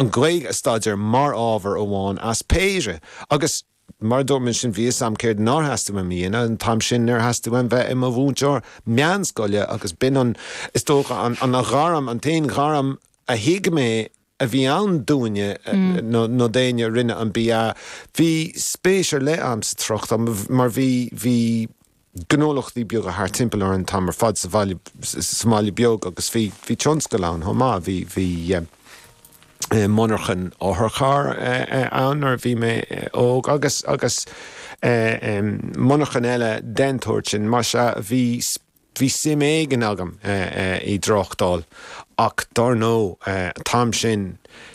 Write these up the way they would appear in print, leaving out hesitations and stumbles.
An Ghaeilge a staidéar mar ábhar amháin as péire. Agus mar a dúirt mé ansin, bhí fhios a'm céard nár theastaigh uaim a dhéanamh, an t-am sin níor theastaigh uaim bheith i mo mhúinteoir meánscoile agus b'in an, is dócha, an ghairm, an t-aon ghairm a thuig mé a bhí ann dúinne nó d'éinne a rinne an BA. Bhí spéis ar leith a'm sa tráchtáil mar bhí, bhí gnólachtaí beaga thart timpeall orainn an t-am ar fad sa bhaile, sa mbaile beag agus bhí, bhí tionscal ann chomh maith. Bhí, bhí monarchan otharcharr ann nuair a bhí mé óg agus, agus monarchan eile den tsórt sin. Más ea, bhí, bhí suim éigin agam i dtráchtáil ach dár ndóigh, an t-am sin,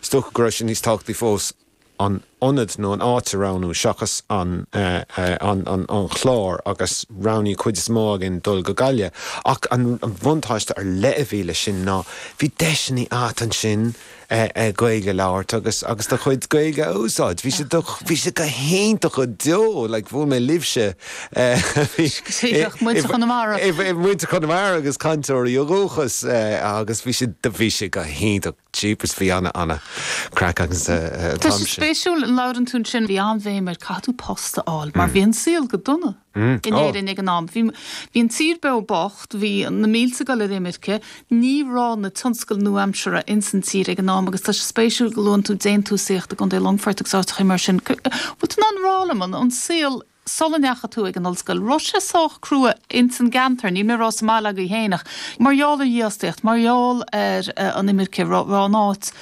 is dócha go raibh sé níos tábhachtaí fós an ionad nó an áit a roghnú seachas an an chlár agus roghnaíodh cuid is mó againn dul go Gaillimh. Ach an bhuntáiste ar leith a bhí leis sin ná bhí deiseanna a't ansin Gaeilge a labhairt agus agus do chuid Gaeilge a úsáid. Bhí sé do bhí sé go hiontach go deo like bhuail mé libhse Muintir Chonamara. Muintir Chonamara agus cainteoirí ó dhúchas agus bhí sé bhí sé go hiontach. Jeepers, bhí ana, ana craic againn an Tá t-am sé sin. spéisiúil, labhrann tú ansin, bhí an-bhéim ar caithfidh tú post a fháil mar bhí an saol go dona in Éirinn ag an am. Bhí, bhí an tír beo bocht, bhí na mílte ag dul ar imirce, ní raibh na tionscail nua-aimseartha ins an tír ag an am agus tá sé spéisiúil go luann tú déantúsaíocht i gContae Longfoirt agus áiteachaí mar sin. Bhfuil tú in ann rá liom an, an saol Sula ndeachaigh tú ag an ollscoil, raibh sé sách crua ins an gceantar, níl mé ag rá sa mbaile agaibh féin ach mar gheall ar dhífhostaíocht, mar gheall ar an imirce, raibh an áit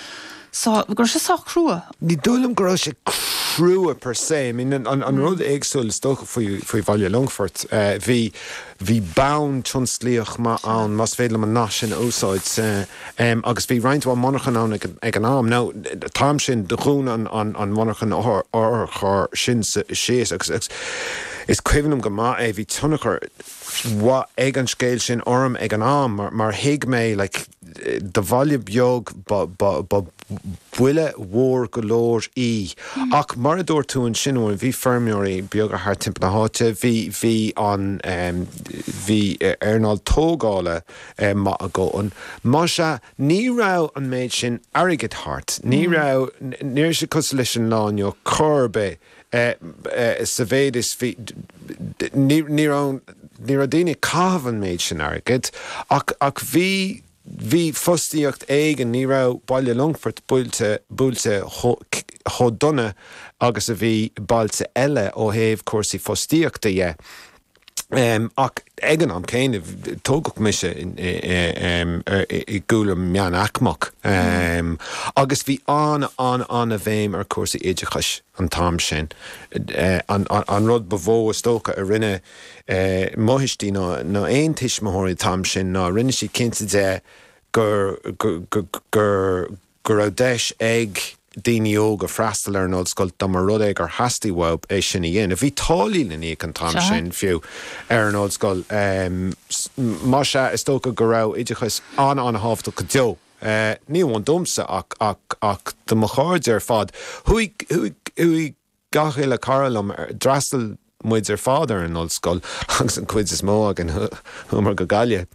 sách, go raibh sé sách crua? Ní dóigh liom go raibh sé crua per se. I mean an rud éagsúil is dócha faoi faoi Bhaile Longfoirt, bhí bhí bonn tionsclaíoch maith ann, más féidir liom an nath sin a úsáid. Agus bhí roinnt mhaith monarchan ann ag an am. Now, an t-am sin, do dhún an mhonarchan otharchairr sin síos agus is cuimhin liom go maith é, bhí tionchar mhaith ag an scéal sin orm ag an am mar thuig mé, like, do bhaile beag ba buille mhór go leor í. Ach mar a dúirt tú ansin, bhí feirmeoirí beaga thart timpeall na háite, bhí, bhí an, bhí earnáil tógála, maith a dhóthain. Más ea, ní raibh an méid sin airgid thart. Ní raibh, ní raibh sé cosúil leis an lá inniu chor ar bith, sa mhéid is bhí, ní, ní raibh, ní raibh daoine ag caitheamh an méid sin airgid, ach, ach bhí, bhí fostaíocht éigin, ní raibh Baile Longfoirt buailte, buailte chomh dona agus a bhí bailte eile ó thaobh cúrsaí fostaíochta dhe. Ach ag an am céanna, tógadh mise i gcúlra meánaicmeach agus bhí an-an-an-bhéim ar chúrsaí oideachais an t-am sin. An rud ba mhó is dócha a rinne mo thuistí nó aon tuismitheoirí an t-am sin ná rinne siad cinnte de gur gur go raibh deis ag daoine óga freastal ar an ollscoil dá mba rud é gur theastaigh uathu é sin a dhéanamh. Bhí táillí le n-íoc an t-am sin fiú ar an ollscoil. Más ea, is dócha go raibh oideachas an-an-thábhachtach go deo, ní amháin domsa ach ach ach do mo chairde ar fad. Chuaigh chuaigh chuaigh gach uile cara liom, d'fhreastail muid ar fad ar an ollscoil agus an chuid is mó againn chuamar go Gaillimh.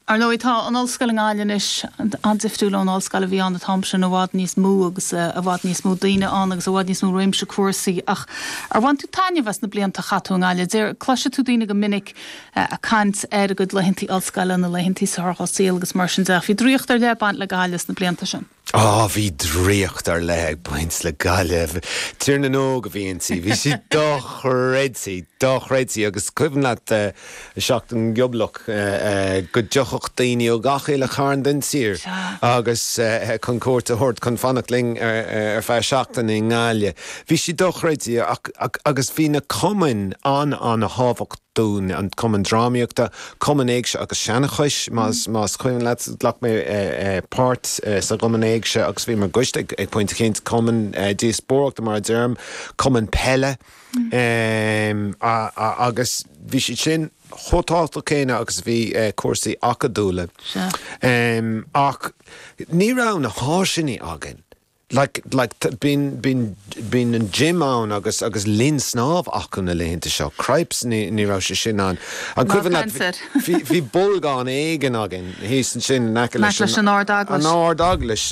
Ar ndóigh, tá an ollscoil i nGaillimh anois an-difriúil ón ollscoil a bhí ann an t-am sin, i bhfad níos mó agus i bhfad níos mó daoine ann agus i bhfad níos mó réimse cúrsaí. Ach ar bhain tú taitneamh as na blianta a chaith tú i nGaillimh? Deir, cloisfidh tú daoine go minic ag caint ar a gcuid laethantaí ollscoile, na laethantaí is fearr dá saol agus mar sin de. Ach bhí draíocht ar leith ag baint le Gaillimh sna blianta sin. Á, bhí draíocht ar leith ag baint le Gaillimh. Tír na nÓg a bhí inti. Bhí sí dochreidte, dochreidte. Agus cuimhin leat Seachtain Ghioblach, go dtiocfadh daoine ó gach uile chearn den tír agus chun cuairt a thabhairt, chun fanacht linn ar feadh seachtaine i nGaillimh. Bhí sí dochreidte agus bhí na cumainn an-an-thábhachtach. dúinn, an Cumann Drámaíochta, Cumann Éigse agus Seanchais, más cuimhin leat, ghlac mé páirt sa gCumann Éigse agus bhí mé ar an gcoiste ag pointe eicínt, Cumann Díospóireachta mar a deirim, Cumann Peile agus bhí siad sin chomh tábhachtach céanna agus a bhí cúrsaí acadúla. Ach ní raibh na háiseanna againn. Like, like, bíonn, bíonn, bíonn an gym ann agus, agus linn snámh acu na laethanta seo. Cripes, ní, ní raibh sé sin ann. An cuimhin leat, bhí, bhí bolgán éigin againn thíos ansin in aice leis an, an Ard-Eaglais. An Ard-Eaglais.